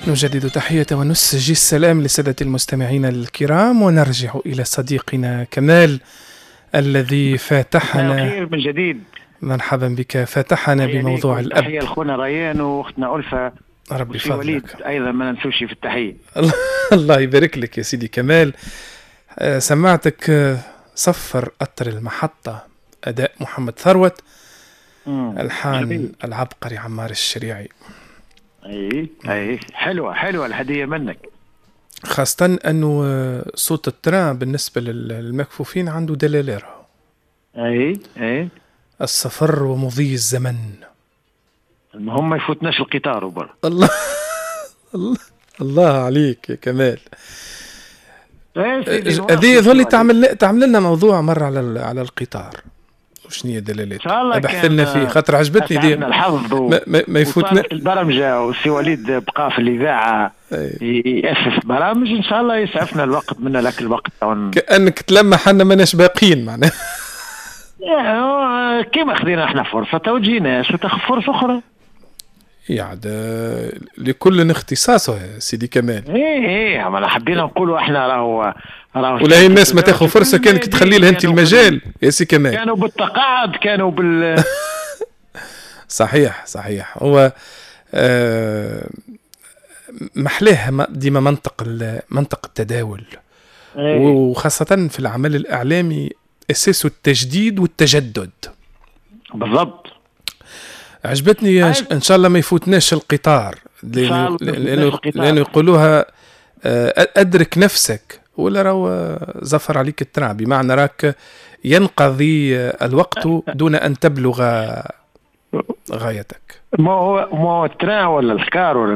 نجدد تحية ونسجي السلام لسادة المستمعين الكرام، ونرجع إلى صديقنا كمال الذي فاتحنا خير من جديد. مرحبا بك، فاتحنا بموضوع الأب. تحية لخونا ريان واختنا ألفة، ربي وسي وليد فضلك. أيضا ما ننسوش في التحية. الله يبارك لك يا سيدي كمال. سمعتك صفر قطر المحطة، أداء محمد ثروت، ألحان جميل. العبقري عمار الشريعي. اي اي، حلوة حلوة الهدية منك. خاصة أنه صوت ال train بالنسبة للمكفوفين عنده دلالة. اي اي. السفر ومضي الزمن. المهم ما يفوتناش القطار وبر. الله الله الله عليك يا كمال. إيه سيدي، هذه يظل تعمل لنا موضوع مرة على القطار وشنو هي دلالات. إن شاء الله. ابحث كان لنا فيه خاطر عجبتني دي. أسعدنا الحظ ما يفوتنا. وصارت البرمجة والسي وليد بقى في الإذاعة يأسس برامج، إن شاء الله يسعفنا الوقت منا لك الوقت كأنك تلمح حنا ماناش باقيين معناها. إيه، كيما خذينا احنا فرصة تو تجيناش وتاخذ فرصة أخرى. يعني لكل اختصاصه يا سيدي كمال. ايه ايه، ما حبينا نقولوا احنا راهو ولا هي الناس ما تاخذ فرصة كانك تخلي لها انت المجال يا سي كمال. كانوا بالتقاعد، كانوا بال صحيح صحيح، هو محلاه ديما منطق التداول. وخاصة في العمل الإعلامي أساسه التجديد والتجدد. بالضبط. عجبتني. إن شاء الله ما يفوتناش القطار. إن شاء الله ما يفوتناش القطار. لأنه يقولوها أدرك نفسك ولا راهو زفر عليك ال train، بمعنى راك ينقضي الوقت دون أن تبلغ غايتك. ما هو ال train ولا الكار ولا